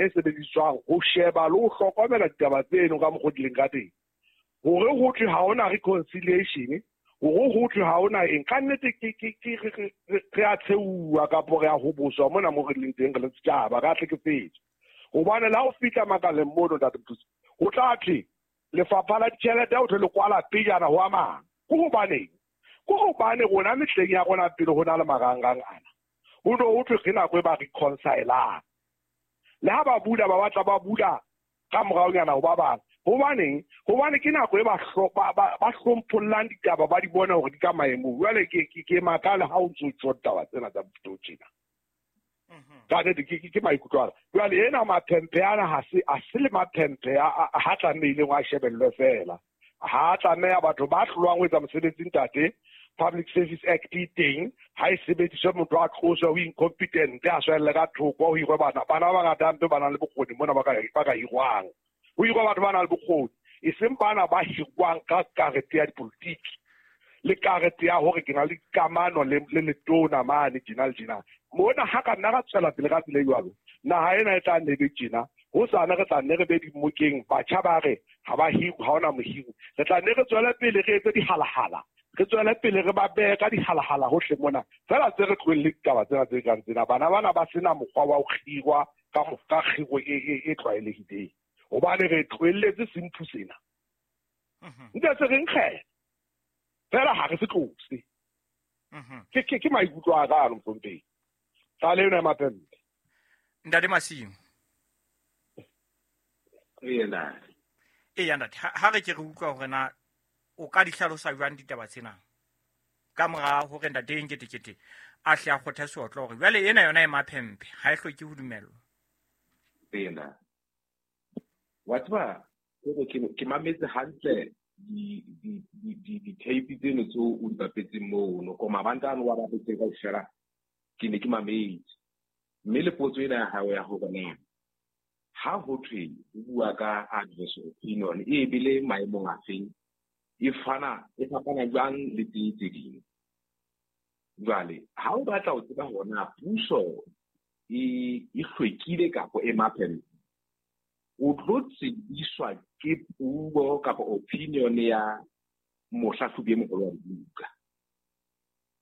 e sebediswang ho sheba le ho hlokomela ditaba tseno ka mokgwa di leng ka teng. Hore ho thwe ha hona reconciliation, hore ho thwe ha hona eng, ka nnete ke re a tsheuwa kapo re a hoboswa mona mo re leng teng re le setjhaba, re a hlekefetswa. Hobane le ha o fihla makaleng mono, Ntate Mothusi, ho tla thwe lefapha la ditjhelete ho thwe le kwala pejana ho a mang. Ke hobaneng? Ke hobane rona mehleng ya rona pele ho na le marangrang ana, ho no ho thwe ke nako e ba reconcilang. Le ha ba bula, ba batla ba bula ka moraonyana ho ba bang. Hobaneng? Hobane ke nako e ba hlomphollang ditaba, ba di bona hore di ka maemong. Jwale ke makale ha o ntso tjho ditaba tsena tsa mofuta o tjena. Ka nnete ke maikutlo ana. Jwale ena maphemphe ana ha se a se le maphemphe a ha tlamehileng a shebellwe feela. Ha tlameha batho ba hlolwang ho etsa mosebetsi, ntate. Public Service Act e teng, ha e sebediswe, motho a tloswe ho incompetent, a swelle ka thoko, ho hirwe bana ba bangata hampe ba nang le bokgoni mona ba ka hirwang. Ho hirwe batho ba nang le bokgoni, e seng bana ba hirwang ka karete ya dipolotiki le karete ya hore ke na le kamano le letona mane tjena le tjena. Mona ha ka nna ra tswela pele ka tsela e jwalo, naha ena e tla nne be tjena. Hosane re tla nne re be dimokeng, batjha ba re ha ba hirwe, ha hona mohiri. Re tla nne re tswele pele re etse dihalahala, re tswele pele re ba behe ka dihalahala hohle mona fela, tse re tlohelle ditaba tsena tse kang tsena. Bana bana ba sena mokgwa wa ho kgirwa ka kgiro e tlwaelehileng, hobane re tlohelletse semphu sena ntse se re nkgela fela, ha re se tlose. Ke maikutlo a ka ano, mohlomphehi, tlale eno ya maphempe. Ntate Masimo. Ena. Eya ntate, ha re ke re utlwa hore na o ka di hlalosa jwang ditaba tsena ka mora hore ntate Nketekete a hle a kgothe seotlo hore jwale ena yona e maphempe, ha e hloke ho dumellwa. Ena, wa tseba hore ke mametse hantle di-tape tseno tseo o di bapetseng mono ko mabanta ano wa bapetseng kaofela, ke ne ke mametse. Mme le potso ena ya hao ya hore na ha ho thwe o bua ka adverse opinion e bele maemong a feng, e fana e fapana jwang le tse ding. Jwale ha o batla ho tseba hore na puso e hlwekile kapa e maphempe, o tlo tsebiswa ke puo kapa opinion ya mohlahlobi e moholo wa dibuka.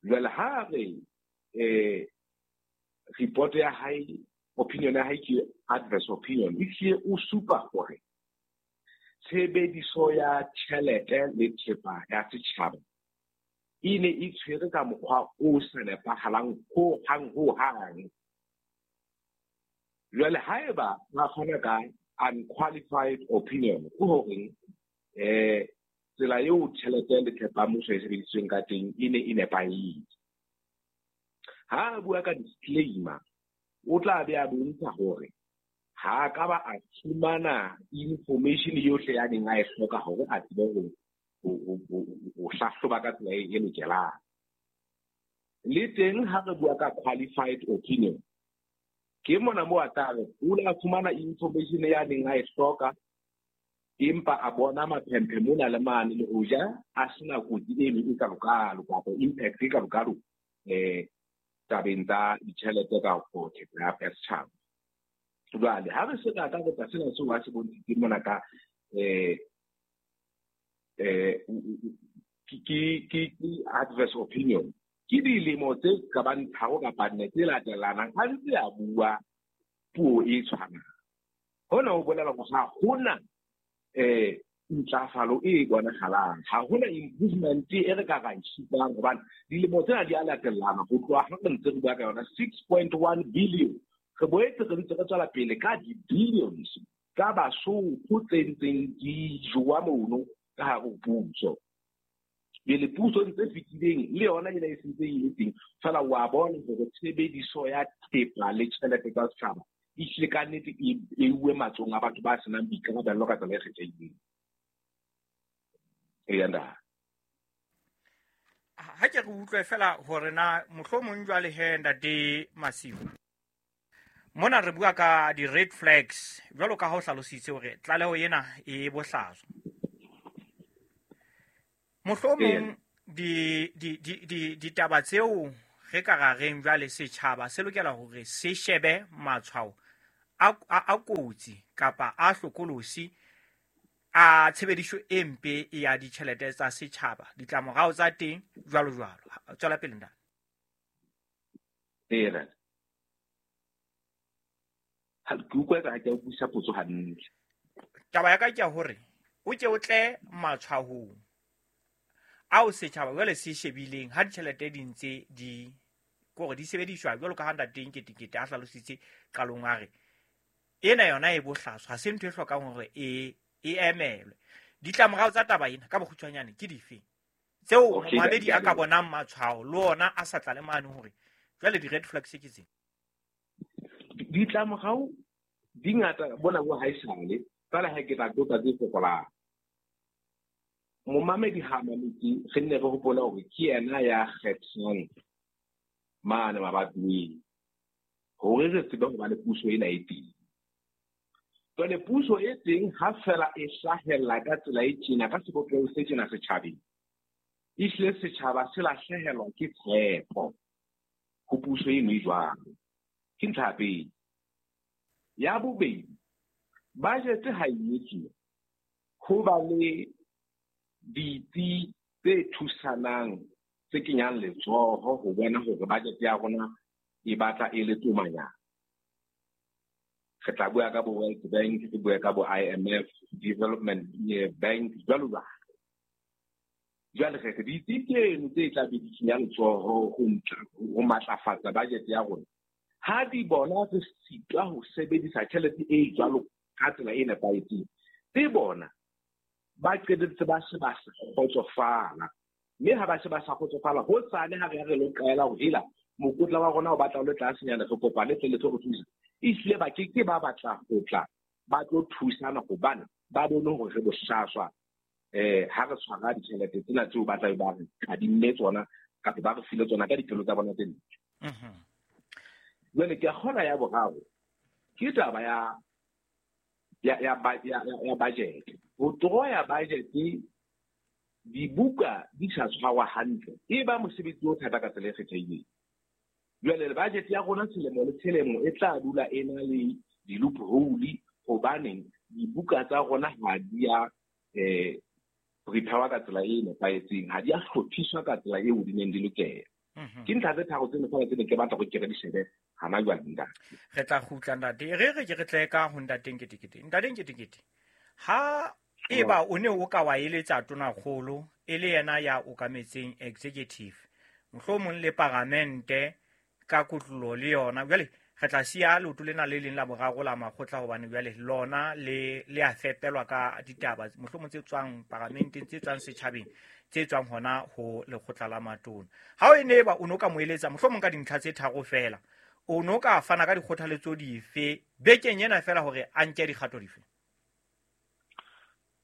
Jwale ha re report ya hae, opinion ya hae ke adverse opinion, e hlile o supa hore tshebediso ya tjhelete le thepa ya setjhaba e ne e tshwere ka mokgwa o sa nepahalang ho hang ho hang. Jwale haeba ba fana ka unqualified opinion, ke horeng tsela eo tjhelete le thepa mmuso e sebedisitsweng ka teng e ne e nepahetse. Ha a bua ka disclaimer, o tla be a bontsha hore ha a ka ba a fumana information yohle ya neng a e hloka hore a tsebe ho hlahloba ka tsela e lokelang. Le teng ha re bua ka qualified opinion, ke mona moo a tla re o ile a fumana information ya neng a e hloka, empa a bona maphemphe mona le mane, le hoja a sena kotsi eno e kalokalo kapa impact e kalokalo tabeng tsa ditjhelete ka thepa ya setjhaba. Jwale ha re se re akaretsa sena seo a se bontshitseng mona ka ke adverse opinion, ke dilemo tse ka bang 3 kapa 4 tse latelanang a ntse a bua puo e tshwanang. Hona ho bolela hore ha hona ntlafalo e bonahalang, ha hona improvement e re ka ra e supang, hobane dilemo tsena di a latellana ho tloha ha re ntse re bua ka yona 6.1 billion. Re boetse re ntse re tswela pele ka di-billions tsa Basotho tse ntseng di jowa mono ka hare ho puso. Pele puso ntse fetileng le yona ena e sentse e le teng fela, wa bona hore tshebediso ya thepa le tjhelete tsa setjhaba e hlile ka nnete e uwe matsohong a batho ba senang boikarabello ka tsela e kgethehileng. Eya ntate. Ha ke re utlwe fela hore na mohlomong jwale he, ntate Masiu, mona re bua ka di-red flags jwalo ka ha o hlalositse hore tlaleho ena e bohlaswa. Mohlomong ditaba tseo re ka ra reng jwale setjhaba se lokela hore se shebe matshwao a kotsi kapa a hlokolosi a tshebediso e mpe ya ditjhelete tsa setjhaba, ditlamorao tsa teng jwalo jwalo. Tswela pele ntate. Ee, ke utlwa eka ha ke a utlwisisa potso hantle. Taba ya ka ke ya hore o ke o tle matshwahong ao setjhaba jwale se shebileng ha ditjhelete di ntse di kore di sebediswa jwalo ka ha ntate Nketekete a hlalositse qalong, a re ena yona e bohlaswa, ha se ntho e hlokang hore e emelwe. Ditlamorao tsa taba ena ka bokgutshwanyane ke dife tseo momamedi a ka bonang matshwao le ona a sa tlale mane hore jwale di-red flags ke tsena? Ditlamorao di ngata bona bo haesale, fela ha ke tla qotsa tse fokolang. Momamedi ha mametse, re nne re hopole hore ke yena ya kgethang mane mabatoweng hore re tsebe ho ba le puso ena e teng. Jwale puso e teng ha fela e hlahella ka tsela e tjena, ka sebopeho se tjena setjhabeng, ehlile setjhaba se lahlehelwa ke tshepo ho puso eno e jwalo. Ke ntlha ya pele. Ya bobedi, budget ha e etsuwa ho ba le ditsi tse thusanang tse kenyang letsoho ho bona hore budget ya rona e batla e le tomanyana. Re tla bua ka bo World Bank, re bue ka bo IMF, Development Bank, jwalo jwalo. Jwale re ditsi tseno tse tla be di kenya letsoho ho matlafatsa budget ya rona, ha di bona re sitwa ho sebedisa tjhelete e jwalo ka tsela e nepahetseng, tse bona ba qetelletse ba se ba sa kgotsofala. Mme ha ba se ba sa kgotsofala, hosane ha re ya re lo qela ho hela mokotla wa rona o batla o le tlasenyana, re kopa le tle le tlo re thusa, ehlile ba ke ke ba batla ho tla ba tlo thusana hobane ba bone hore re bohlaswa ha re tshwara ditjhelete tsena tseo ba tla be ba re kadimme tsona kapa ba re file tsona ka dipelo tsa bona tse ntle. Jwale ke a kgolwa ya boraro ke taba ya budget. Ho toroya budget dibuka di sa tshwarwa hantle e ba mosebetsi o thata ka tsela e kgethehileng. Jwale budget ya rona selemo le selemo e tla dula e na le di-loophole hobaneng dibuka tsa rona ha di a prepare ka tsela e nepahetseng, ha di a hlophiswa ka tsela eo di neng di lokela. Ke ntlha tse tharo tseno fela tse ne ke batla go ke re di shebe hana jwale ntate. Re tla kgutla ntate, re ke re tle ka ho ntate Nketekete. Ntate Nketekete, ha eba o ne o ka wa eletsa tonakgolo e le yena ya okametseng executive, mohlomong le paramente ka kotlolo le yona, jwale re tla siya leoto lena le leng la boraro la makgotla hobane jwale lona le a fepelwa ka ditaba mohlomong tse tswang paramenteng, tse tswang setjhabeng, tse tswang hona ho lekgotla la matona. Ha o ne ba o no ka mo eletsa mohlomong ka dintlha tse tharo fela, o no ka fana ka dikgothaletso dife bekeng ena fela hore a nke dikgato dife?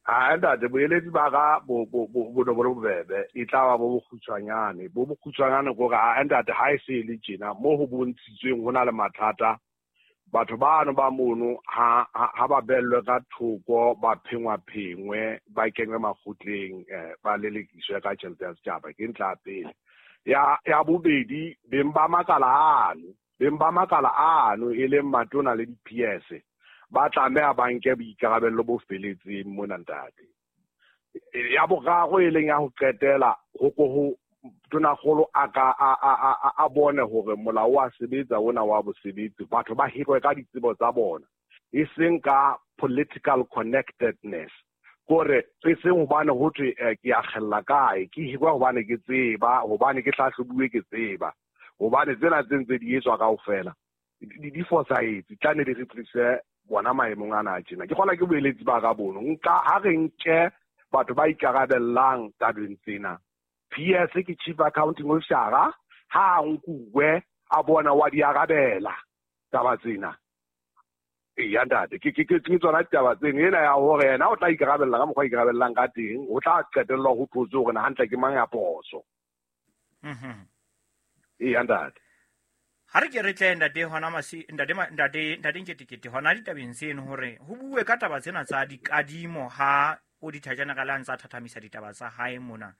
Ha ntate, boeletsi ba ka bo no bo bobebe, e tla ba bo bokgutshwanyane. Bo bokgutshwanyane ke hore ha ntate ha e se e le tjena mo ho bontshitsweng ho na le mathata, batho bano ba mono ha ba bellwe ka thoko, ba phengwa-phengwe, ba kenywe makgotleng, ba lelekiswe ka tjhelete ya setjhaba. Ke ntlha ya pele. Ya bobedi, beng ba makala ano e leng matona le di-PS ba tlameha ba nke boikarabello bo feletseng mona ntate. Ya boraro e leng ya ho qetela, ho ko ho tonakgolo a ka a bone hore molao wa sebetsa ona wa bosebetsi, batho ba hirwe ka ditsebo tsa bona, e seng ka political connectedness. Kore e seng hobane ho thwe ke a kgella kae, ke hirwa hobane ke tseba, hobane ke hlahlobuwe ke tseba, hobane tsena tse ntse di etswa kaofela di fosahetse, tla ne di re tlise bona maemong ana a tjena. Ke kgola ke boeletsi ba ka bono nka ha re nke batho ba ikarabellang tabeng tsena. PS ke chief accounting officer, ha a nkuwe a bona wa di arabela taba tsena. Eya ntate, ke tsona ditaba tseno. Ena ya hore yena o tla ikarabella ka mokgwa a ikarabellang ka teng, o tla qetellwa ho thotswe hore na hantle ke mang ya phoso. Eya ntate. Ha re ke re tle ntate hona masi ntate Nketekete hona ditabeng tseno hore ho bue ka taba tsena tsa dikadimo ha Auditor General a ntsa thathamisa ditaba tsa hae mona.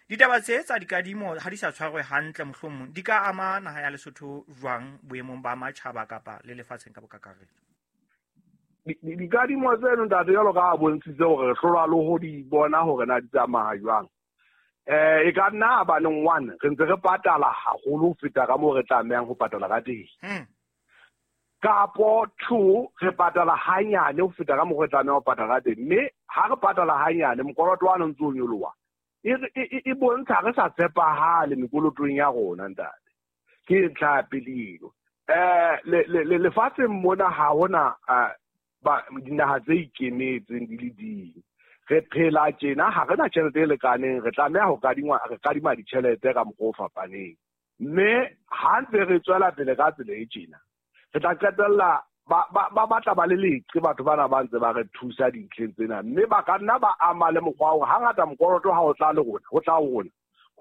Ditaba tse tsa dikadimo ha di sa tshwarwe hantle mohlomong di ka ama naha ya Lesotho jwang boemong ba matjhaba kapa le lefatsheng ka bokakaretso? Dikadimo tseno ntate jwalo ka a bontshitse hore re hlolwa le ho di bona hore na di tsamaya jwang. E ka nna baneng one re ntse re patala haholo ho feta ka moo re tlamehang ho patala ka teng. Kapo two re patala hanyane ho feta ka moo re tlamehang ho patala ka teng. Mme ha re patala hanyane mokoloto wa ntse o nyoloha. E bontsha re sa tshepahale mekolotong ya rona ntate. Ke ntlha ya pele eno. Lefatsheng mona ha hona dinaha tse ikemetseng di le ding. Re phela tjena ha re na tjhelete e lekaneng, re tlameha ho kadima ditjhelete ka mokgwa o fapaneng. Mme ha ntse re tswela pele ka tsela e tjena, re tla qetella ba batla ba le leqe batho bana ba ntse ba re thusa dintlheng tsena. Mme ba ka nna ba ama le mokgwa wa hore hangata mokoloto ha o tla le rona, ho tla ho rona,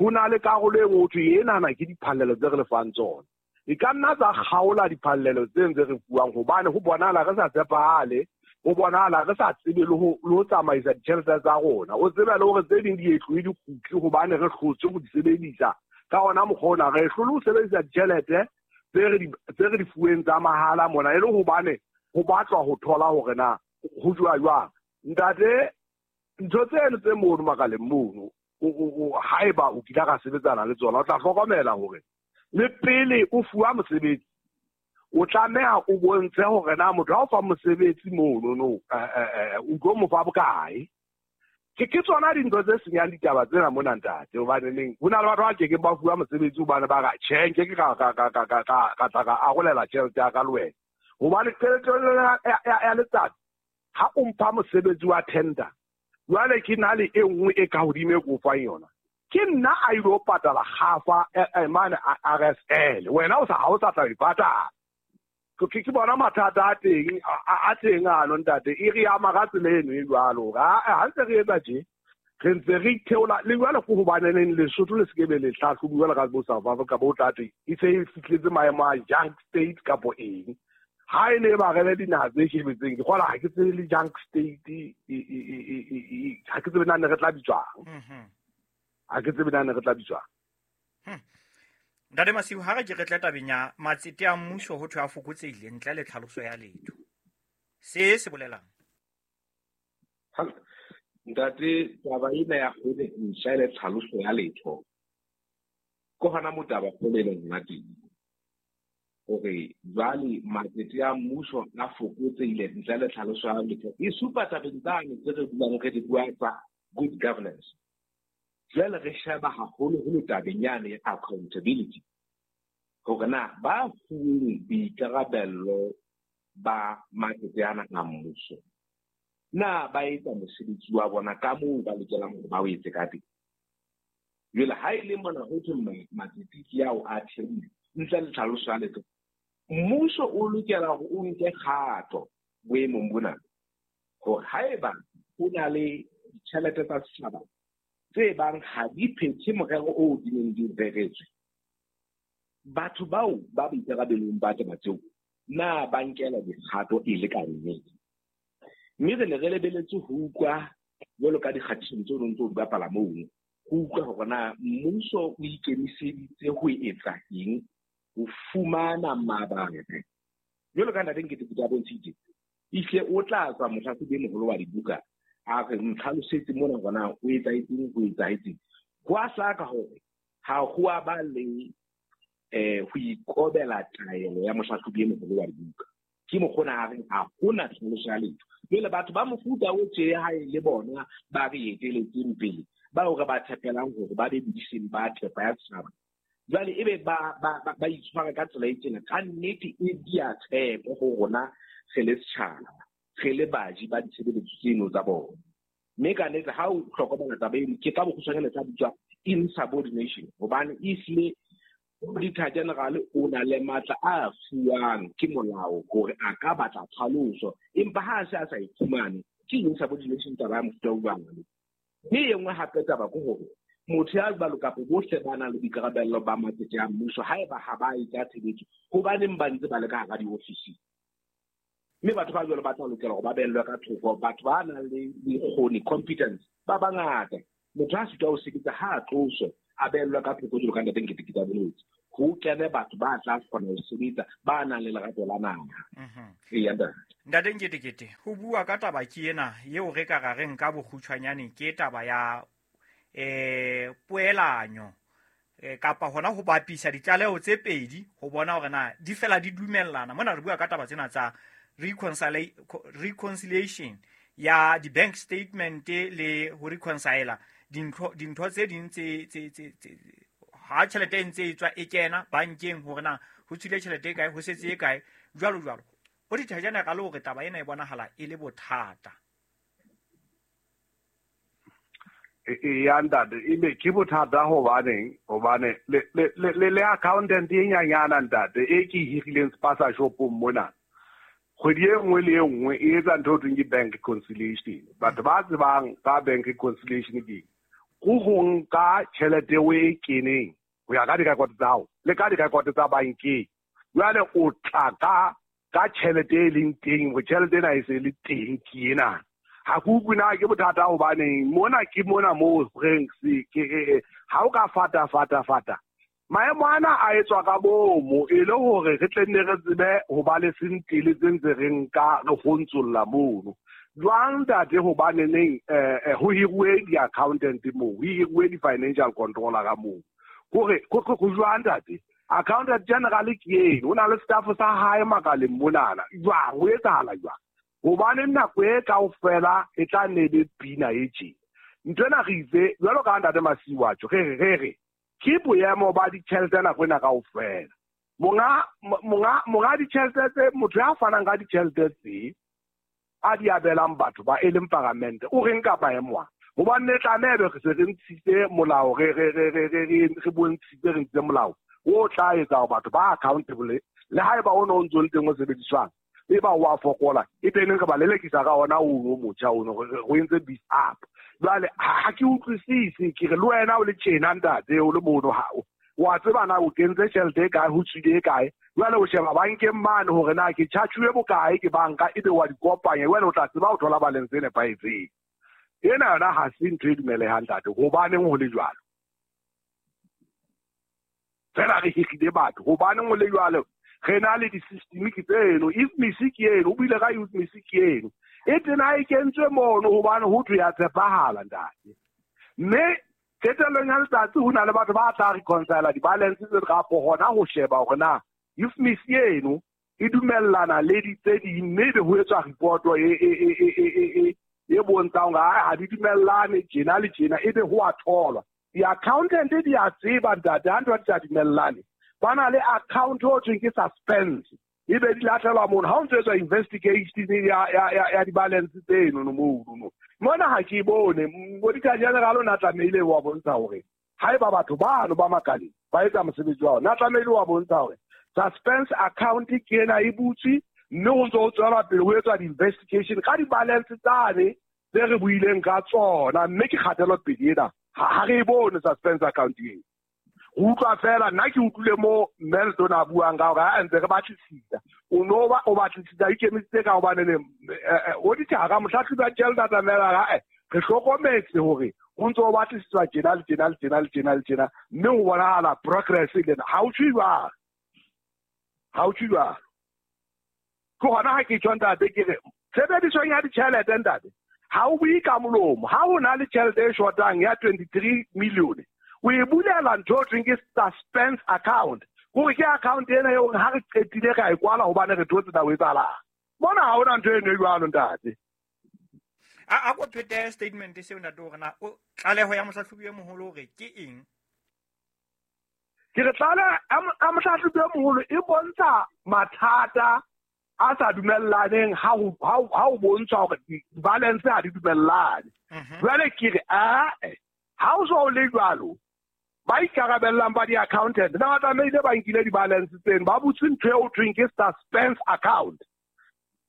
ho na le karolo e nngwe ho thwe enana ke diphallelo tse re lefang tsona. E ka nna tsa kgaola diphallelo tse ntse re fuwang hobane ho bonahala re sa tshepahale, ho bonahala re sa tsebe le ho tsamaisa ditjhelete tsa rona. O tsebe le hore tse ding di etloe di kgutle hobane re hlotse ho di sebedisa ka ona mokgwa ona. Re hlole ho sebedisa ditjhelete tse re di fuweng tsa mahala mona e le hobane ho batlwa ho thola hore na ho jwa jwang. Ntate, ntho tseno tse mono makaleng mono, haeba o kile ka sebetsana le tsona, o tla hlokomela hore le pele o fuwa mosebetsi o tlameha o bontshe hore na motho ha o fa mosebetsi mono no o tlo mo fa bokae. Ke tsona dintho tse senyang ditaba tsena mona ntate, hobane neng ho na le batho ba kekeng ba fuwa mosebetsi hobane ba ra tjhe nke ke ka tla ka arolela tjhelete ya ka le wena. Hobane qetellong ya letsatsi ha o mpha mosebetsi wa tender, jwale ke na le e nngwe e ka hodimo e ke o fang yona. Ke nna a ilo patala kgafa mane RSL, wena o sa ha o sa tla e patala. Ke bona mathata a teng a teng ano ntate, e re ama ka tsela eno e jwalo. Ha ntse re etsa tje, re ntse re itheola le jwale ke hobaneng Lesotho le se ke be le hlahlobuwa jwalo ka bo South Africa bo tate e se e fihletse maemo a junk state kapo eng. Ha e ne ba re le dinaha tse shebetseng, ke kgola ha ke tsebe le junk state ha ke tsebe na ne re tla bitswang. Ha ke tsebe na ne re tla bitswang. Ntate Masiu, ha re ke re tla tabeng ya matsete a mmuso ho thwe a fokotsehile ntle le tlhaloso ya letho. Se se bolelang? Ntate, taba ena ya hore ntle le tlhaloso ya letho, ke hona moo taba kgolo e leng hona teng. Hore jwale matsete a mmuso a fokotsehile ntle le tlhaloso ya letho, e supa tabeng tsane tse re dulang re di bua tsa good governance. Jwale re sheba haholoholo tabeng yane ya accountability, hore na ba fuweng boikarabello ba matsete ana a mmuso, na ba etsa mosebetsi wa bona ka moo ba lokelang hore ba o etse ka teng. Jwale ha e le mona ho thwe matsete ke ao a theohile ntle le tlhaloso ya letho, mmuso o lokela hore o nke kgato boemong bona, hore haeba ho na le ditjhelete tsa setjhaba tse bang ha di phethe morero oo di neng di reretswe, batho bao ba boikarabelong ba taba tseo na ba nkela dikgato e le ka nnete. Mme re ne re lebeletse ho utlwa jwalo ka dikgatiso tseo re ntse o di bapala mono, ho utlwa hore na mmuso o ikemiseditse ho etsa eng ho fumana mabaka. Jwalo ka ntate Nketekete a bontshitse, ehlile o tla tswa mohlahlobi e moholo wa dibuka a re ntlhalosetse mona hore na o etsahetseng, ho etsahetseng. Ho a hlaka hore ha ho a ba le ho ikobela taelo ya mohlahlobi e moholo wa dibuka. Ke mokgona a reng ha hona tlhaloso ya letho. Jwale batho ba mofuta o tje ha e le bona ba re eteletseng pele, bao re ba tshepelang hore ba be bodiseng ba thepa ya setjhaba, jwale ebe ba itshwara ka tsela e tjena, ka nnete e dia tshepo ho rona re le setjhaba, re le baji ba ditshebeletso tseno tsa bona. Mme ka nnete ha o hlokomela taba eno, ke ka bokgutshwanyane tsa bitswa insubordination, hobane ehlile Auditor General o na le matla a fuwang ke molao hore a ka batla tlhaloso, empa ha a se a sa e fumane, ke insubordination taba ya mofuta o jwalo. Mme e nngwe hape taba ke hore motho ya jwalo kapa bohle ba nang le boikarabello ba matsete a mmuso, haeba ha ba etsa tshebetso, hobaneng ba ntse ba le ka hara diofisi? Mme batho ba jwalo ba tla lokela hore ba behellwe ka thoko. Batho ba nang le bokgoni, competence, ba bangata. Motho ha sitwa ho sebetsa ha a tloswe, a behellwe ka thoko jwalo ka ntate Nketekete a boletse. Ho kene batho ba tla kgona ho sebetsa ba nang le lerato la naha. Eya ntate. Ntate Nketekete, ho bua ka taba ke ena eo re ka ra reng ka bokgutshwanyane ke taba ya poelanyo kapa hona ho bapisa ditlaleho tse pedi ho bona hore na di fela di dumellana. Mona re bua ka taba tsena tsa reconciliation ya di-bank statement le ho reconcile dintho tse ding tse ha tjhelete e ntse e tswa e kena bankeng hore na ho tswile tjhelete e kae, ho setse e kae, jwalo jwalo. Auditor General hore taba ena e bonahala e le bothata. Ya ntate, ebe ke bothata hobaneng? Hobane le accountant e nyanyana ntate e ke hirileng spaza shopong mona. Kgwedi e nngwe le e nngwe e etsa ntho e thweng ke bank reconciliation. Batho ba tsebang ka bank reconciliation ke go ho nka tjhelete eo e keneng ho ya ka direkoto tsa hao le ka direkoto tsa bankeng. Jwale o tla ka tjhelete e leng teng, hore tjhelete ena e se le teng ke ena. Ha ke utlwe na ke bothata hobaneng mona ke mona moo reng se ha o ka fata. Maemo ana a etswa ka bomo e le hore re tle nne re tsebe ho ba le sentele tse ntse re nka re ho ntsolla mono. Jwang ntate hobane neng ho hiruwe di-accountant moo, ho hiruwe di-financial controller ka moo. Hore go jwang ntate? Accountant general ke eno, o na le staff sa hae makaleng monana. Jwang ho etsahala jwang? Hobane nako e kaofela e tla nne be pina e tje. Nthwena re itse jwalo ka ntate Masiu a tjho, re re ke boemo ba ditjhelete nako ena kaofela. Monga ditjhelete tse, motho ya fanang ka ditjhelete tse a di abelang batho ba e leng paramente, o reng ka maemo a? Hobane ne tlameha be re se re ntshitse molao, re bontshitse re ntshitse molao o tla etsa hore batho ba accountable le haeba o no ntso le teng o sebediswang e ba wa fokola e teng re ba lelekisa ka ona o motjha ono re entse beef up. Jwale ha ke utlwisise, ke re le wena o le tjena ntate o le mono ha wa tseba na o kentse tjhelete e kae, ho tswile e kae. Jwale o sheba bankeng mane hore na ke charge-uwe bokae ke banka, ebe wa di kopanya, jwale o tla tseba ho thola balance e nepahetseng. Ena yona ha se ntho e dumelehang ntate, hobaneng ho le jwalo? Fela re hirile batho, hobaneng ho le jwalo? Re na le di-system ke tseno, IFMIS ke eno, o buile ka IFMIS ke eno. E tena e kentswe mono hobane ho thwe ya tshepahala ntate. Mme qetellong ya letsatsi ho na le batho ba tla reconcile di-balance tse kapo hona ho sheba hore na IFMIS eno e dumellana le di tse ding, mme ebe ho etswa report e bontshang hore ha di dumellane tjena le tjena, ebe ho a tholwa. Di-accountant di a tseba ntate ha ntho di sa dumellane. Ba na le account ho thweng ke suspense, ebe di lahlelwa mono ha o ntso etswa investigation ya di-balance tseno no mono. Mona ha ke bone Auditor General o na tlamehile wa bontsha hore haeba batho bano ba makaleng ba etsa mosebetsi wa ona, na tlamehile wa bontsha hore suspense account ke ena e butswe, mme ho ntso ho tswela pele ho etswa di-investigation ka di-balance tsane tse re buileng ka tsona, mme ke kgatelopele ena ha re e bone suspense account eo. Ho utlwa fela nna ke utlwile mo Melton a buang ka hore ha ntse re batlisisa, o no ba o batlisisa ikemisitse ka hobane ne auditor mohlahlobi wa tjhelete a tlamela re hlokometse hore ho ntso ho batlisiswa tjena le tjena le tjena le tjena le tjena, mme ho bonahala progress le ena. Ha o tjho jwalo, ha o tjho jwalo. Ke hona ha ke tjho ntate ke re tshebedisong ya ditjhelete ntate ha o bue ka molomo. Ha o na le tjhelete e shotang ya 23 million, o e bulela ntho e thweng ke suspense account, hore ke account ena eo ha re qetile ra e kwala hobane re thotse taba e etsahalang. Mona ha hona ntho eno e jwalo ntate. A ko phete statement seo ntate hore na o tlaleho ya mohlahlobi e moholo hore ke eng? Ke re tlaleho ya mohlahlobi e moholo e bontsha mathata a sa dumellaneng ha ho bontsha hore di-balance ha di dumellane. Jwale ke re ha o so le jwalo, ba ikarabellang ba di-accountant na ba tlamehile ba nkile di-balance tseno, ba butse ntho eo thweng ke suspense account.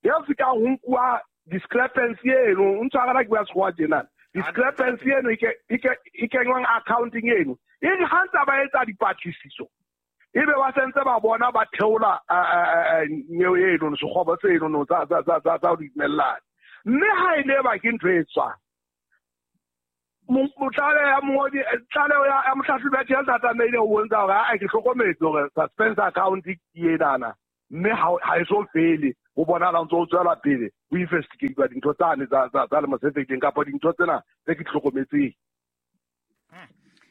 Eo se ka ho nkuwa discrepancy eno, o ntshwarela ke bua sekgowa tjena. Discrepancy eno e kenngwang accounting eno, e re ha ntse ba etsa dipatlisiso, ebe ba sentse ba bona ba theola neo eno, sekgobo seno no tsa ho dumellana. Mme ha e le ba ke ntho e tswang, Tlaleho ya mongodi, tlaleho ya mohlahlobi ya tjhelete a tlamehile ho bontsha hore a ke hlokometse hore suspense account ke enana, mme ha e so fele, ho bonahala ntse o tswela pele ho investigate dintho tsane tsa lemo se fetileng kapa dintho tsena tse ke di hlokometseng.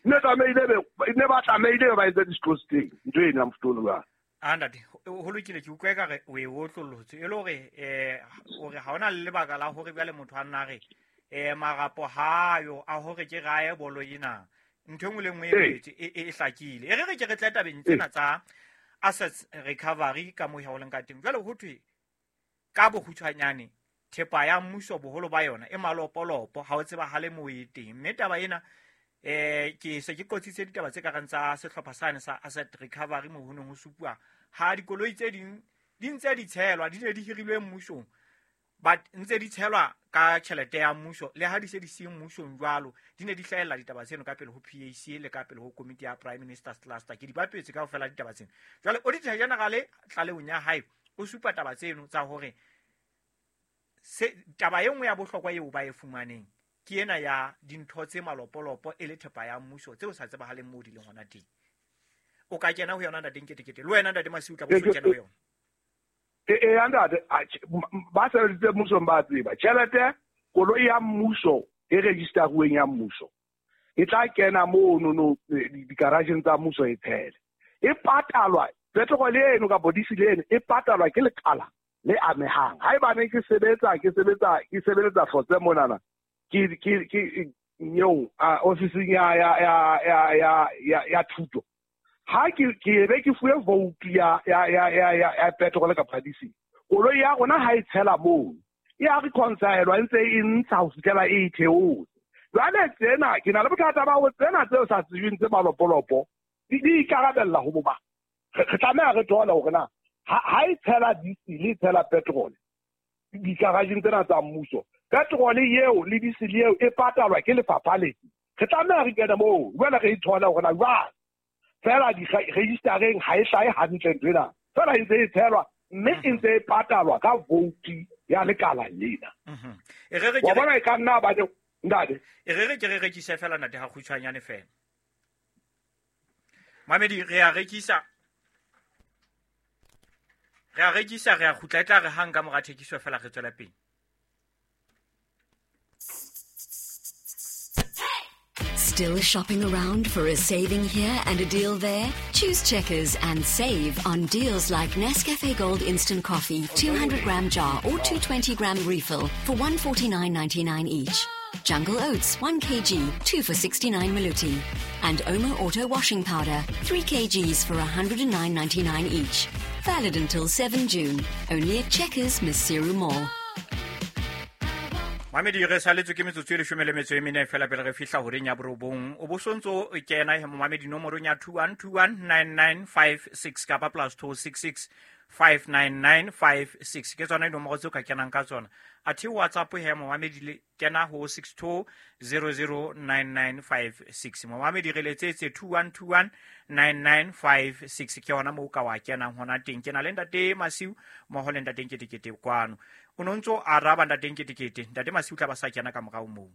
Ne tlamehile ne ba tlamehile ba etse disclose teng ntho eno ya mofuta ono jwalo. A ntate, ho lokile, ke utlwa ekare o e otlollotse e le hore hore ha hona le lebaka la hore jwale motho a nna re marapo hayo a hore ke raye bolo ena, ntho e nngwe le nngwe e boletswe e hlakile. E re re ke re tle tabeng tsena tsa assets recovery ka moo ho leng ka teng. Jwale ho thwe ka bokgutshwanyane thepa ya mmuso boholo ba yona e malopolopo, ha o tsebahale moo e teng. Mme taba ena ke se ke qotsitse ditaba tse kareng tsa sehlopha sane sa asset recovery moo ho neng ho supuwa ha dikoloi tse ding di ntse di tshelwa, di ne di hirilwe mmusong, but ntse di tshelwa ka tjhelete ya mmuso, le ha di se di se mmusong jwalo, di ne di hlahella ditaba tseno ka pele ho PAC le ka pele ho komiti ya Prime Minister's Cluster. Ke di bapetse kaofela ditaba tseno. Jwale Auditor General tlalehong ya hae o supa taba tseno tsa hore se taba e nngwe ya bohlokwa eo ba e fumaneng ke ena ya dintho tse malopolopo e le thepa ya mmuso tseo sa tsebahaleng moo di leng hona teng. O ka kena ho yona ntate Nketekete, le wena ntate Masiu o tla bo so kena ho yona. E ntate, ba sebeditse mmusong ba tseba. Tjhelete koloi ya mmuso e registeruweng ya mmuso e tla kena mono no digarageng tsa mmuso e tshele. E patalwa petrol eno kapa diesel eno e patalwa ke lekala le amehang. Haebane ke sebetsa ke sebetsa ke sebeletsa Hlotse monana, ke ke ke eo ofising ya ya ya ya ya ya ya thuto. Ha ke ke be ke fuwe vote ya ya ya ya ya ya petrol kapa diesel, koloi ya rona ha e tshela moo e a reconcile, e ntse e ntsha ho fihlela e theose. Jwale tsena ke na le bothata ba ho tsena tseo sa tsejweng tse malopolopo di ikarabella ho bo mang. Re tlameha re thole hore na ha e tshela diesel e tshela petrol digarageng tsena tsa mmuso, petrol eo le diesel eo e patalwa ke lefapha lefe? Re tlameha re kene moo jwale re e thole hore na jwang. Fela di-registereng ha e hlahe hantle ntho ena, fela e ntse e tshelwa mme e ntse e patalwa ka vote ya lekala lena. E re re Wa bona e ka nna ba ntate. E re re ke re rekise fela ntate ha kgutshwanyane fela. Mamedi, re a rekisa. Re a rekisa, re a kgutla, e tla re hang ka mora thekiso fela re tswela pele. Still shopping around for a saving here and a deal there? Choose Checkers and save on deals like Nescafe Gold Instant Coffee, 200-gram jar or 220-gram refill for 149.99 each. Jungle Oats, 1 kg, 2 for 69 Maluti. And Omo Auto Washing Powder, 3 kgs for 109.99 each. Valid until 7 June. Only at Checkers, Maseru Mall. Mamedi, re saletswe ke metsotso e 14 fela pele re fihla horeng ya borobong. O bo sontso o kena he momamedi nomorong ya 21219956 kapa +266 59956. Ke tsona dinomoro tseo ka kenang ka tsona. Athe WhatsApp he momamedi le kena ho 62009956. Momamedi re letsetse 21219956 ke yona moo ka wa kenang hona teng. Ke na le ntate Masiu mmoho le ntate Nketekete kwano. O no ntso araba ntate Nketekete, ntate Masiu tla ba sa kena ka morao moo.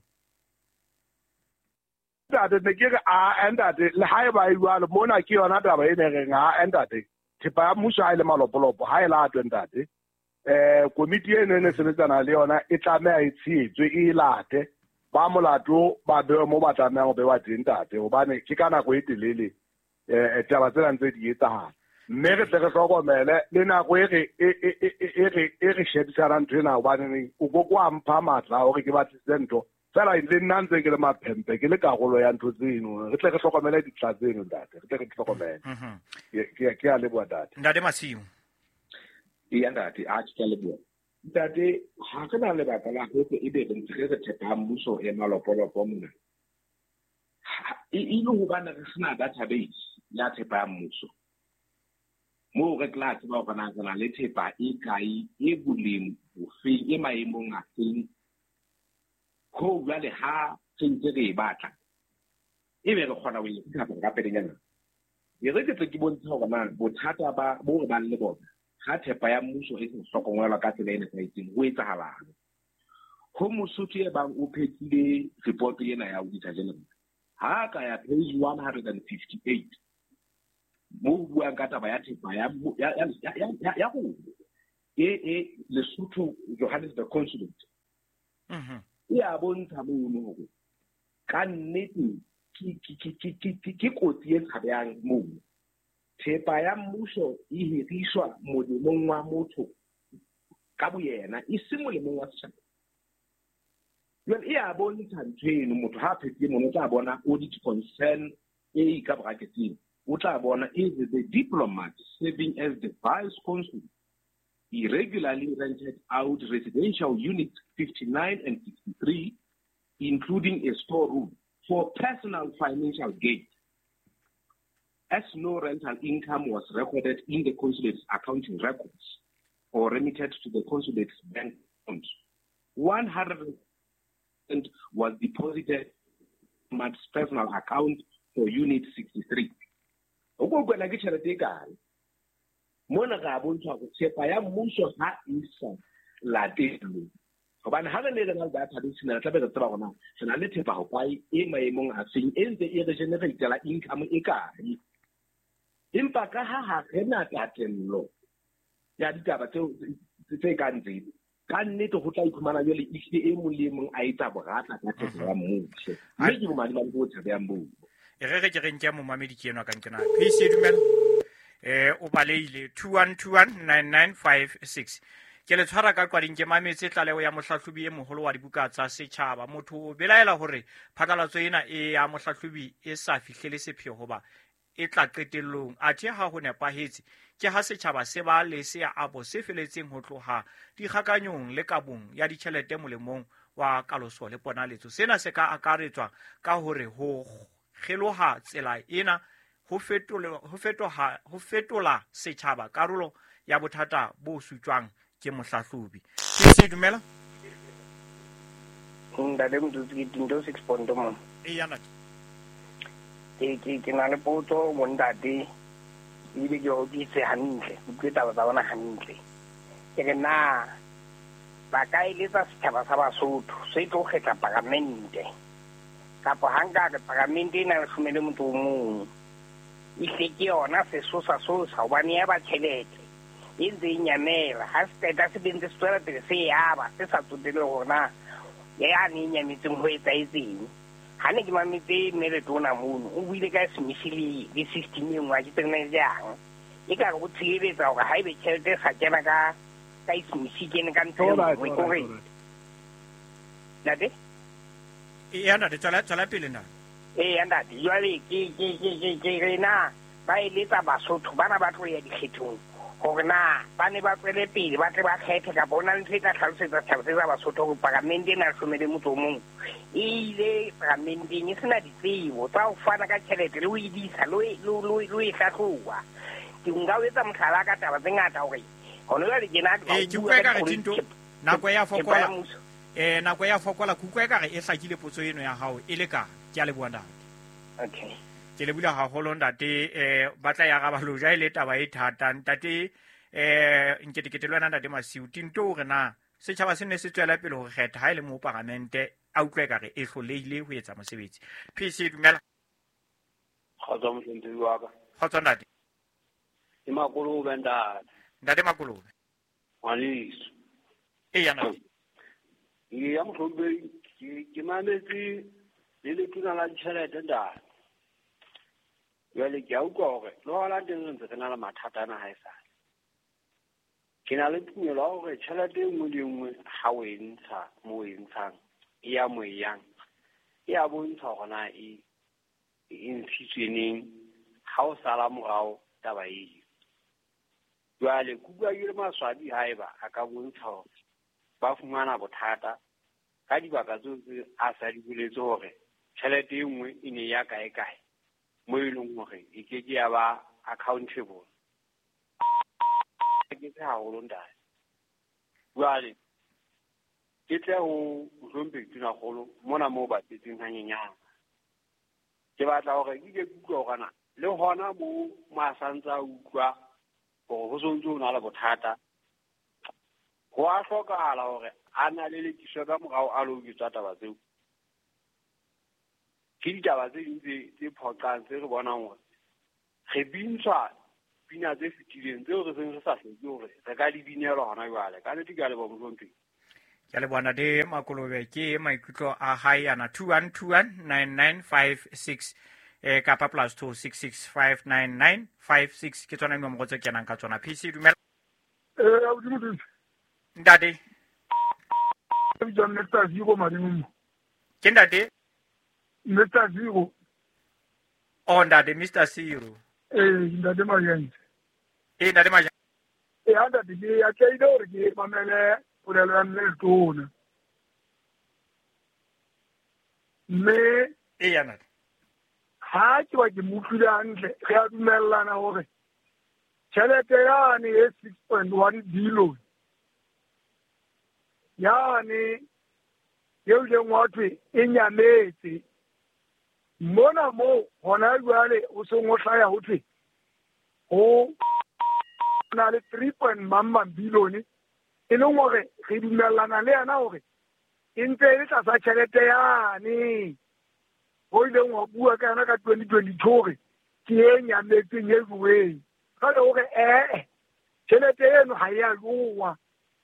Ntate ne ke re a ntate le haeba e jwalo mona ke yona taba e ne reng ha ntate thepa ya mmuso ha e le malopolopo ha e latwe ntate. Komiti eno e ne sebetsana le yona e tlameha e tshehetswe e late ba molato ba bewe mo ba tlamehang ho bewa teng ntate, hobane ke ka nako e telele taba tsena ntse di etsahala. Mme re tle re hlokomele le nako e re e re shebisana ntho ena, hobane o ko kwa mpha matla hore ke batlisise ntho fela le nna ntse ke le maphempe ke le karolo ya ntho tseno. Re tle re hlokomele ditla tseno ntate, re tle re hlokomele. Ke a leboha ntate. Ntate Masiu. Eya ntate, a ke a leboha. Ntate, ha re na lebaka la hore ebe re ntse re re thepa ya mmuso e malopolopo mona. E le hobane re sena database ya thepa ya mmuso. Moo re tla tseba hore na re na le thepa e kae, e boleng bofeng, e maemong a feng. Ho jwale ha re ntse re e batla, ebe re kgona ho e recover ka pelenyana. E re ke tle ke bontshe hore na bothata ba bo re bang le bona ha thepa ya mmuso e sa hlokomelwa ka tsela e nepahetseng, ho etsahalang. Ho Mosotho e bang o phethile report ena ya Auditor General, ha ka ya page 158 mo buang ka taba ya thepa ya rona e Lesotho Johannesburg Consulate. E a bontsha mono hore ka nnete ke kotsi e tshabehang mono. Thepa ya mmuso e hiriswa molemong wa motho ka boyena, e se molemong wa setjhaba. Jwale e a bontsha ntho eno, motho ha a phethile mono o tla bona audit concern e ka bracketeng, o tla bona is the diplomat serving as the vice consul irregularly rented out residential units 59 and 63, including a storeroom, for personal financial gain, as no rental income was recorded in the consulate's accounting records or remitted to the consulate's bank account. 100% was deposited in the personal account for unit 63. O ko kwena ke tjhelete e kae? Mona re a bontsha hore thepa ya mmuso ha e sa latelwe. Hobane ha re ne re na le database re tla be re tseba hore na re na le thepa ho kae e maemong a feng, e ntse e re generate-la income e kae. Empa ka ha re na tatello ya ditaba tse kang tseo, ka nnete ho tla iphumana jwale ehlile e mong le e mong a etsa boratla ka thepa ya mmuso. Mme ke bomadimabe bo tshabehang boo. E re ke re nke momamedi ke enwa ka nkena. PC dumela. O baleile 21219956. Ke le tshwara ka qwading ke mametse tlaleho ya mohlahlobi e moholo wa dibuka tsa setjhaba. Motho o belaela hore phatlalatso ena e ya mohlahlobi e sa fihlele sepheo hoba e tla qetellong. Athe ha ho nepahetse ke ha setjhaba se ba le seabo se feletseng ho tloha dikgakanyong le kabong ya ditjhelete molemong wa kaloso le ponaletso. Sena se ka akaretswa ka hore ho kgeloha tsela ena ho fetola setjhaba karolo ya bothata bo sutjwang ke mohlahlobi. Ke se dumela? Ntate Motsotsiki ke Tinto 6 point mo. E ya ntate. Ke na le potso mo ntate. Ebile ke o utlwise hantle, utlwe taba tsa bona hantle. Ke re na ba ka eletsa setjhaba sa Basotho se tlo kgetha paramente. Kapa ha nka re paramente e na le 11 mong. Ehle ke yona sesosa sosa hobane ya ba tjhelete e ntse e nyamela. Ha se qeta se bentse se tswela pele se yaba se sa tsotelle hore na ya ne e nyametseng ho etsahetseng. Ha ne ke mametse mme letona mono o buile ka Smith le system e nngwe, ha ke tsebe na jang. E ka re o tshireletsa hore haebe tjhelete e sa kena ka Smith e kene ka ntho e nngwe, ke hore ntate? Eya ntate, tswela pele ntate. Eya ntate, jwale ke re na ba eletsa Basotho bana ba tlo ya dikgethong hore na ba ne ba tswele pele ba tle ba kgethe, kapa ho na le ntho e tla hlalosetsa setjhaba se sa Basotho hore paramente e na 11 mong e ile paramenteng e sena ditsebo tsa ho fana ka tjhelete le ho e disa le ho e hlahloba. Ke nka o etsa mohlala ka taba tse ngata hore hona jwale ke na ke utlwa ekare Tinto nako ya fokola. Nako ya fokola, ke utlwa ekare e hlakile potso eno ya hao e le ka. Ke a leboha ntate. Okay. Ke lebohile haholo ntate. Ba tla ya araba loja e le taba e thata ntate. Nketekete le wena ntate Masiu. Tinto hore na setjhaba se ne se tswela pele ho kgetha ha e le mo paramente a utlwa ekare e hlolehile ho etsa mosebetsi. PC dumela. Kgotso mohlomphehdi wa ka. Kgotso ntate. Ke Makolobe ntate. Ntate Makolobe. Ngwaneso. Eya ntate. Ya mohlomphehdi ke mametse le letona la ditjhelete ntate. Jwale ke a utlwa hore le hona teng re ntse re na le mathata ana haesale. Ke na le tumelo ya hore tjhelete e nngwe le e nngwe ha o e ntsha mo o e ntshang e ya mo e yang, e a bontsha hore na e ntshitswe neng, ha o sala morao taba eo. Jwale ke utlwa ke le maswabi haeba a ka bontsha hore ba fumana bothata ka dibaka tseo tse a sa di boletse hore tjhelete e nngwe e ne ya kae kae mo e leng hore e ke ke ya ba accountable. Ke tse haholo ntate. Jwale ke tle ho mohlomphehi Tonakgolo mona moo ba tletseng hanyenyane. Ke batla hore ke ke utlwe hore na le hona moo mo a santse a utlwa hore ho sontse ho na le bothata, ho a hlokahala hore A na lelekiswa ka morao a lo utswa taba tseo. Ke ditaba tse ding tse phoqang tse re bonang hore re bintshwa pina tse fetileng tseo re seng re sa hloke hore re ka di binelwa hona jwale. Ka nnete ke a leboha mohlomphehi. Ke a leboha ntate Makolobe, ke maikutlo a hae ana 21219956 kapa +26659956 ke tsona dinomoro tse kenang ka tsona. PC dumela. Abuti. Ntate. Ke Mr. Zero Madimo. Ke ntate? Mr. Zero. Oh, ntate Mr. Zero. Ntate Majense. Ntate Majense. Ntate ke a tlaile hore ke mamele polelo ya mme Letona. Mme ntate. Ha ke ba ke mo utlwile hantle, re a dumellana hore tjhelete yane e 6.1 billion yane eo ileng wa thwe e nyametse mona moo hona jwale o seng o hlaya ho thwe ho na le 3.1 billion e leng hore re dumellana le yena hore e ntse e le tlasa tjhelete yane ho ileng wa bua ka yona ka 2022 hore ke e nyametseng e joweng. Jwale hore tjhelete eno ha e a jowa,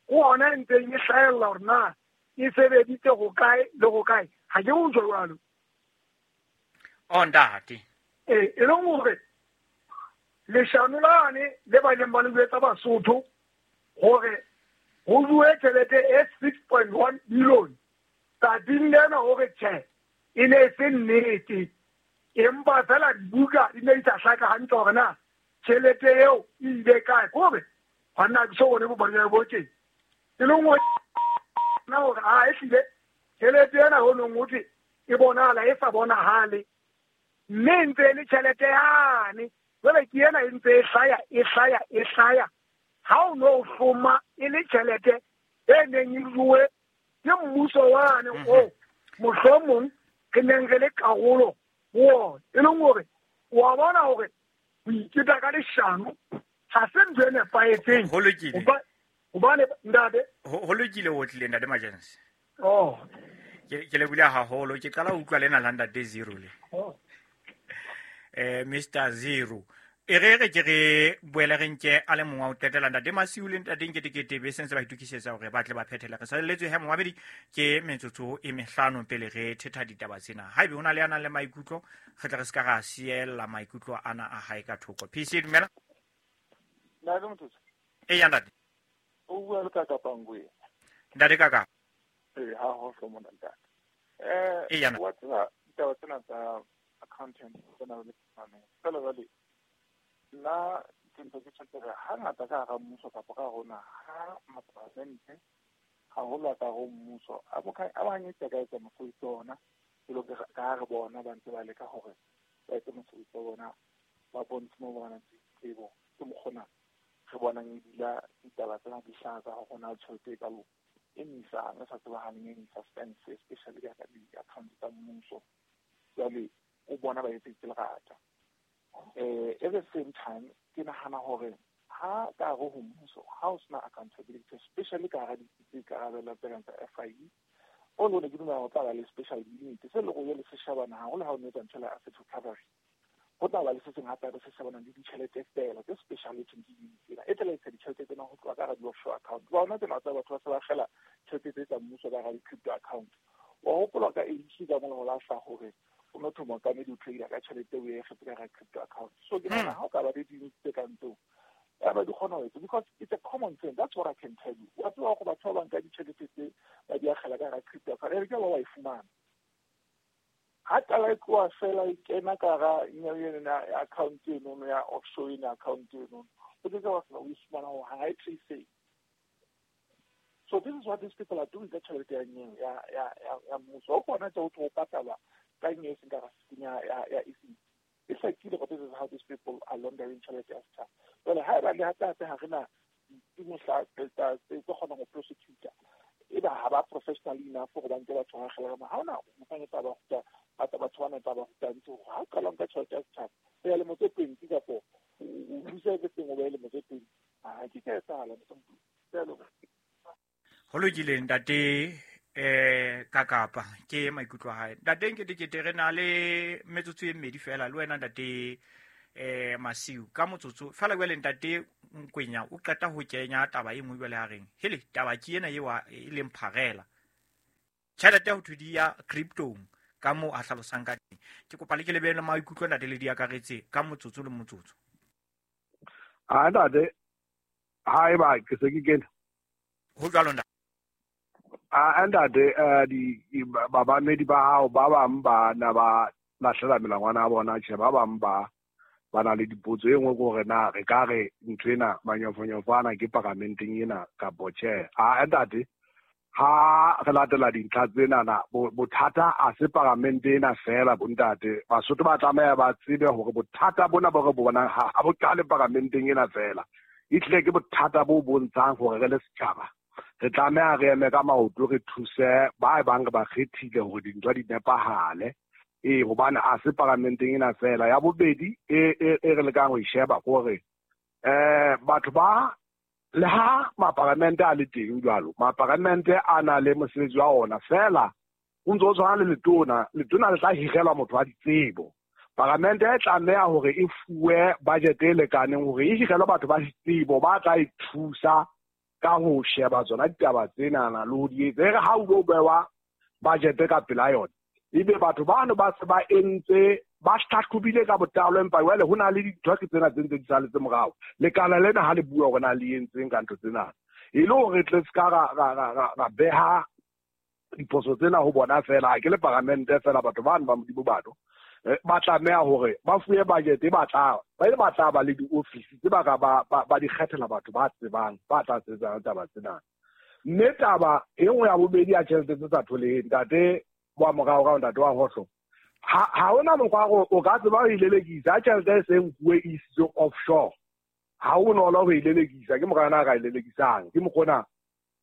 ke hona e ntseng e hlahella hore na e sebeditse ho kae le ho kae. Ha ke utlwe jwalo. Oh, ntate. E leng hore leshano lane le ba ileng ba le jwetsa Basotho hore ho jowe tjhelete e 6.1 billion tsatsing lena hore tjhe e ne e se nnete, empa fela dibuka di ne di sa hlaka hantle hore na tjhelete eo e ile kae. Ke hore hona ke so bone bopaki bo teng, e leng hore na hore a ehlile tjhelete ena ho nong ho thwe e bonahala e sa bonahale, mme e ntse e le tjhelete yane. Jwale ke ena e ntse e hlaya e hlaya e hlaya, ha o no hloma e le tjhelete e neng e jowe ke mmuso wane o mohlomong re neng re le karolo ho ona. E leng hore wa bona hore ho iketa ka leshano ha se ntho e nepahetseng. Ho lokile. Hobane ntate ho lokile, o tlile ntate Majense. Oh. Ke lebohile haholo, ke qala ho utlwa lena la ntate Zero le. Oh. Mr. Zero. E re ke re boele re nke a le mongwe wa ho qetela ntate Masiu le ntate Nketekete be sentse ba itokisetsa hore ba tle ba phethele. Re salelletswe he momamedi ke metsotso e mehlano pele re thetha ditaba tsena. Haebe ho na le a nang le maikutlo, re tle re se ka ra siella maikutlo ana a hae ka thoko. PC dumela. Ntate Motho. Eya ntate. O bua le Kaka Pangwe. Ntate Kaka. Ha ho hlo mona ntate. Eya. Wa tseba ditaba tsena tsa accountant tsena le mane. Fela jwale nna ke ntse ke tjho hore hangata ka hara mmuso kapa ka rona ha maparlamente haholo ka hare ho mmuso a hanyetsa ka etsa mosebetsi wa ona, jwalo ka ha re bona ba ntse ba leka hore ba etse mosebetsi wa bona, ba bontshe moo ba nang le tsebo. Ke mokgona re bonang ebile ditaba tsena di hlaha tsa hore na tjhelete e kalo e misang e sa tsebahaleng e suspense, especially ka di-account tsa mmuso. Jwale o bona ba etseditse lerata. At the same time, ke nahana hore ha ka hare ho mmuso ha o sena accountability, especially ka hara ditsi tse ikarabellang tse kang tsa FIU, o le ke dumela ho tla ba le special unit se leng hore le se shebana haholo ha o no etsa ntho ya asset recovery. Ho tla ba le se seng hape se shebanang le ditjhelete fela tse special e thweng ke unit ena e tla etsa ditjhelete tsena ho tloha ka hara di-offshore account. Ba ona tsena tsa batho ba se ba kgela tjhelete tse tsa mmuso ka hara di-crypto account. Wa hopola ka ANC ka mona ho lahla hore o no thoma ka mme di trader ka tjhelete o e kgetse ka hara crypto account. So ke nahana ha o ka ba le di-unit tse kang tseo, ya ba di kgona ho etsa, because it's a common thing. That's what I can tell you. Wa tseba hore batho ba bang ka ditjhelete tse ba di akgela ka hara crypto account, e re ke ba wa e fumana. Ha qala e tloha fela e kena ka hara ena account enono ya offshore ena account enono, o ke ke wa kgona ho e fumana hore ha e trace. So this is what these people are doing ka tjhelete ya nyewe ya mmuso. O kgona tse o tlo patalwa ka nyewe e seng ka rasiteng ya ECC. E hlakile hore this is how these people are laundering tjhelete ya setjhaba. Jwale haeba le hape hape ha re na ditsi tse kgonang ho prosecutor, eba ha ba professional enough hore ba nke batho ba akgela ka ha hona mokganyetsa ba ruta batho bana tsa ba rutang tse hore ha o qala nka tjhelete ya setjhaba o ya lemo tse 20 kapo o lose everything o be lemo tse 20, ha ke ka etsahala. Ho lokile ntate Kakapa ke maikutlo a hae. Ntate Nketekete, re na le metsotso e mmedi fela le wena ntate Masiu ka motsotso fela. Jwale ntate Nkwenya o qeta ho kenya taba e nngwe jwale a reng hele taba ke ena eo e leng pharela tjhelete ho thwe di ya cryptong ka moo a hlalosang ka teng. Ke kopa le ke le beele maikutlo ntate le di akaretse ka motsotso le motsotso. A ntate, ha eba ke se ke kene ho jwalo ntate. A ntate, di babamedi ba hao ba bang ba na ba lahlela melangwana ya bona, tjhe, ba bang ba na le dipotso. E nngwe ke hore na re ka re ntho ena manyofonyofo ana ke paramenteng ena kapo tjhe. A ntate, ha re latela dintlha tsenana, bothata a se paramente ena fela bontate. Basotho ba tlameha ba tsebe hore bothata bona bo re bonang ha bo qale paramenteng ena fela. Ehlile ke bothata bo bontshang hore re le setjhaba re tlameha re eme ka maoto, re thuse ba bang re ba kgethile hore dintho di nepahale. Ee, hobane a se paramenteng ena fela. Ya bobedi e re lekang ho e sheba hore batho ba le ha maparamente a le teng jwalo, maparamente a na le mosebetsi wa ona fela, o ntse o tshwana le letona. Letona le tla hirelwa motho wa ditsebo. Paramente e tlameha hore e fuwe budget e lekaneng hore e hirelwe batho ba ditsebo ba tla e thusa ka ho sheba tsona ditaba tsenana le ho di etsa. E re ha o lo bewa budget ka pela yona, ebe batho bano ba se ba entse ba hlahlobile ka botlalo, empa jwale ho na le dintho ke tsena tse ntse di saletse morao. Lekala lena ha le bua hore na le entseng ka ntho tsena, e le hore tle se ka ra beha diphoso tsena ho bona fela. Ha ke le paramente fela, batho bano ba Modimo batho ba tlameha hore ba fuwe budget e batla ba tla ba le di-office tse ba ka ba di kgethela batho ba tsebang ba tla sebetsang taba tsena. Mme taba e nngwe ya bobedi ya tjhelete tse sa tholeheng, ntate wa morao ntate wa Hohlo, ha hona mokgwa o ka tseba ho ilelekisa ha tjhelete e seng nkuwe e isitswe offshore. Ha ho bonolo ho ilelekisa, ke mokgwa yona a ka ilelekisang. Ke mokgona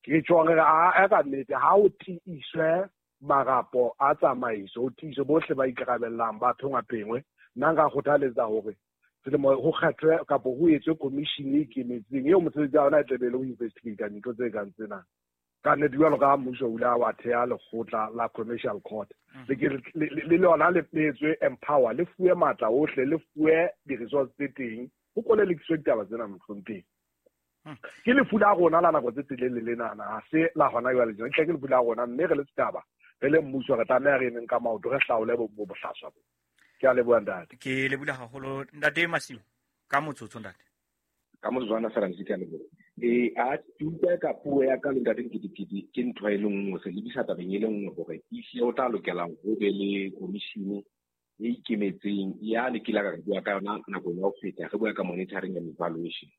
ke tjho re a ka nnete ha o tiiswe marapo a tsamaiso, o tiiswe bohle ba ikarabellang ba phengwa-phengwe. Nna nka kgothaletsa hore selemo ho kgethwe kapo ho etswe commission e ikemetseng eo mosebetsi wa yona e tla be le ho investigate dintho tse kang tsena. Ka nnete jwalo ka mmuso o ile wa theha lekgotla la commercial court, le lona le etswe empower, le fuwe matla ohle, le fuwe di-resource tse teng, ho kolelekiswe ditaba tsena mohlomphehi. Ke lefu la rona la nako tse telele lenana, ha se la hona jwale tjena, ke lefu la rona, mme re le setjhaba, re le mmuso, re tlameha re emeng ka maoto, re hlaole bohlaswa bo. Ke a leboha ntate. Ke lebohile haholo ntate Masiu ka motsotso ntate. Ka motsotswana fela ntse ke a leboha. A ke utlwa ka puo ya ka le ntate Nketekete ke ntho e le nngwe, se lebisa tabeng e le nngwe hore ehlile o tla lokela ho be le commission e ikemetseng ya le kile ka bua ka yona nakong ya ho feta, re bua ka monitoring and evaluation.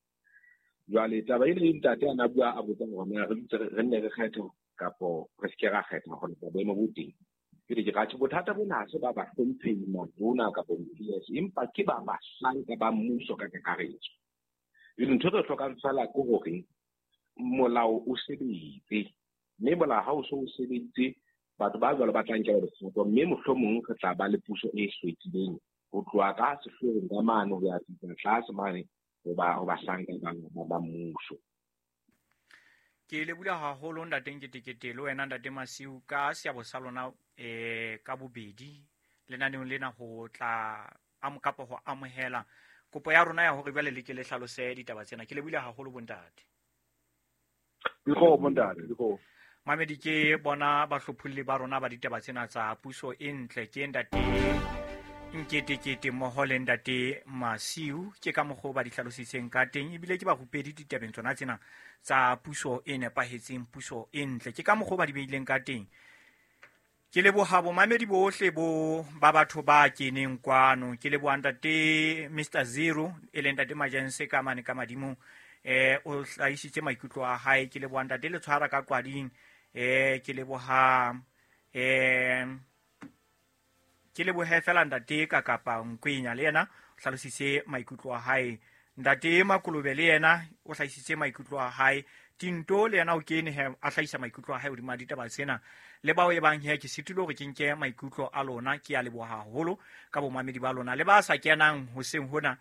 Jwale taba ena e ntate a na bua a botsa hore na re dutse re nne re kgethe kapo re se ke ra kgetha hore boemo bo teng. Ke re ke rathe bothata bona ha se ba bahlomphehi matona kapo PS, empa ke ba bahlanka ba mmuso ka kakaretso. Ntho re hlokang fela ke hore molao o sebetse, mme molao ha o so o sebeditse, batho ba jwalo ba tla nkelwa dikgato, mme mohlomong re tla ba le puso e hlwekileng ho tloha ka sehloohong ka mane ho ya fihla tlase mane ho bahlanka ba mmuso. Ke lebohile haholo ntate Nketekete le wena ntate Masiu ka seabo sa lona ka bobedi lenaneong lena ho tla kapa ho amohela kopo ya rona ya hore jwale le ke le hlalose ditaba tsena. Ke lebohile haholo bontate. Dikgomo bontate, dikgomo. Mamedi ke bona bahlopholli ba rona ba ditaba tsena tsa puso e ntle, ke ntate Nketekete mmoho le ntate Masiu. Ke ka mokgwa ba di hlalositseng ka teng, ebile ke barupedi ditabeng tsona tsena tsa puso e nepahetseng, puso e ntle. Ke ka mokgwa ba di beileng ka teng. Ke leboha bomamedi bohle bo ba batho ba keneng kwano. Ke leboha ntate Mr Zero e leng ntate Majense ka mane ka madimong, o hlahisitse maikutlo a hae. Ke leboha ntate Letshwara ka Kwading, ke leboha ke lebohe fela ntate ka kapa Nkwenya le yena o hlalositse maikutlo a hae. Ntate Makolobe le yena o hlahisitse maikutlo a hae. Tinto le yena o kene he a hlahisa maikutlo a hae hodima ditaba tsena. Le bao e bang he ke sitile hore ke nke maikutlo a lona, ke a leboha haholo ka bomamedi ba lona. Le ba sa kenang hoseng hona,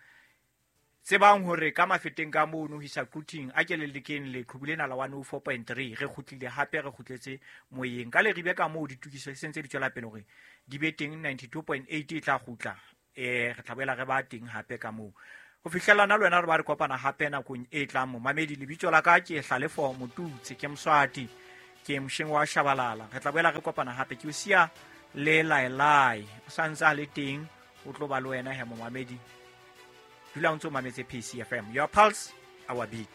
Tsebang hore ka mafeteng ka mono ho isa Quthing a ke le lekeng leqhubu lena la 104.3 re kgutlile hape re kgutletse moyeng ka leribe ka moo ditokiso di sentse di tswela pele hore di be teng. 92.8 e tla kgutla, re tla boela re ba teng hape ka moo ho fihlellana le wena re ba re kopana hape nakong e tlang. Momamedi, lebitso la ka ke Hlalefo Motutse, ke Moswati, ke mosheng wa Shabalala. Re tla boela re kopana hape. Ke o siya le laelai o sa ntse a le teng, o tlo ba le wena he. Momamedi, dula o ntse o mametse PCFM, your pulse, our beat.